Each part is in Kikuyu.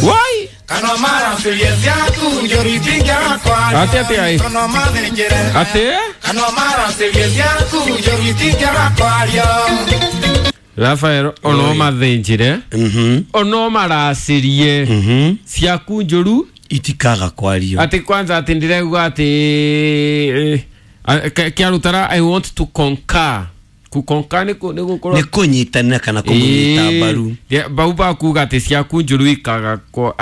Wai Ate ate ai. Ate? Rafael ono mathinjire ono maracirie ciaku njuru itikaga kwario ati kwanza ati ndiregua ati kiarutara I want to conquer kukonka ni gukorwo ni kunyitanira kana kumunyita mbaru bau bakuga ati ciaku njuru ikaga ko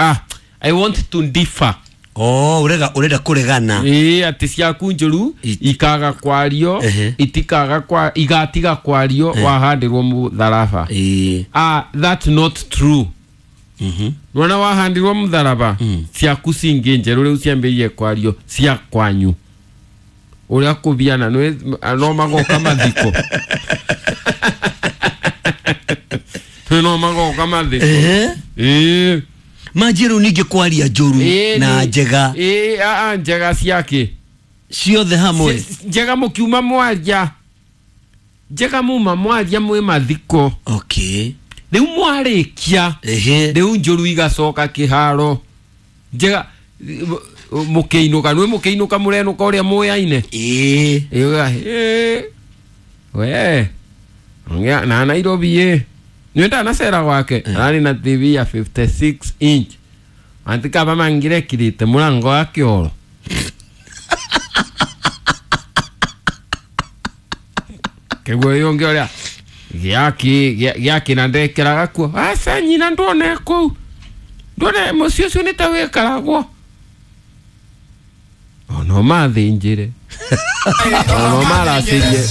I want to differ. Oh, urenda kuregana. Ati ciaku njuru ikaga kwario itikaga kwa igatiga kwario wahandirwo mutharaba. That's not true. Nona wahandirwo mutharaba ciaku cingi njeru riu ciambirie kwario cia kwanyu. Uria kubiana no magoka mathiko. No magoka mathiko. Manjiru ningi kwaria njuru na njega. Njega ciake ciothe hamwe. Njega mukiuma mwaria. Njega muma mwaria mwi mathiko. Okay. Riu mwarikia. Riu njuru igacoka kiharo. Njega mukiinuka nwe mukiinuka murenuka uria muyaine. We. Ngia na Nairobi Nwenda na sera gwake arari na TV ya 56 inch antika bamangire kirite murango wa kioro keguo yonge oria giaki na ndekeraga kuo aca nyina ndone kuu ndone mucio ucio nĩ ta wĩkaragwo ono mathinjire ono maracirie